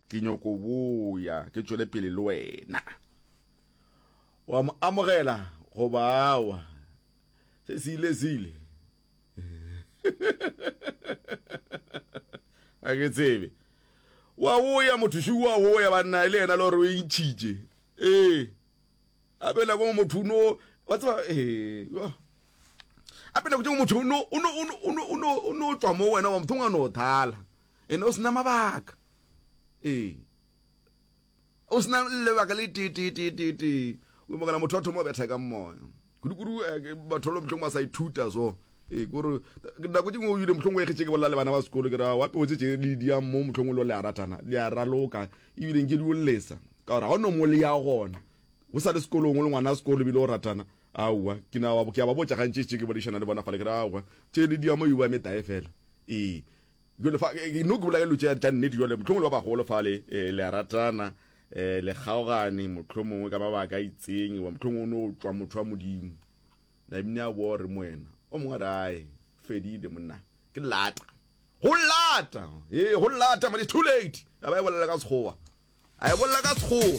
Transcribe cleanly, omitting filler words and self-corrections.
Ke nyoko boya ke tšwele pele le wena. Wa mo amogela goba awa? Se se ile se ile. A ke tsebe. Wa boya motho šo wa boya banna e le yena le gore o e ntšhitše. Ee. Gape nako motho o no wa tseba ee. Gape nako tše motho o no o no o no o no o no tšwa mo wena wa motho o no thala. Ene o sena mabaka. Ee. O sena lebaka le tee tee tee tee tee. O makala motho a thoma betha ka moya. Kudu-kudu eh, batho lo mohlomong ba sa ithuta so. Ee, kore nako tše nngwe o ile mohlomongwe e kgetše ke bolela le bana ba sekolo ke ra wa peo tse tše le di ya mo mohlomongwe lo le a ratana le a raloka ebile nke di o lesa ka gore ga o no mo le ya gona o sa le sekolong o le ngwana sekolo ebile o ratana aowa ke na ke a ba botša gantši tše ke boledišana le bona fale ke re aowa tše le di ya mo e bua metae fela ee Jwale fa no ke bolela dilo tša tša nnete jwale mohlomongwe le ba bagolo fale eh, le a ratana eh, le kgaogane mohlomongwe ka mabaka a itseng goba mohlomongwe o no tšwa motho wa modimo na ebile a boa gore moena o mongwe a re ae fedile monna ke lata go lata ee go lata but it's too late a ba e bolela ka sekgowa a e bolela ka sekgowa.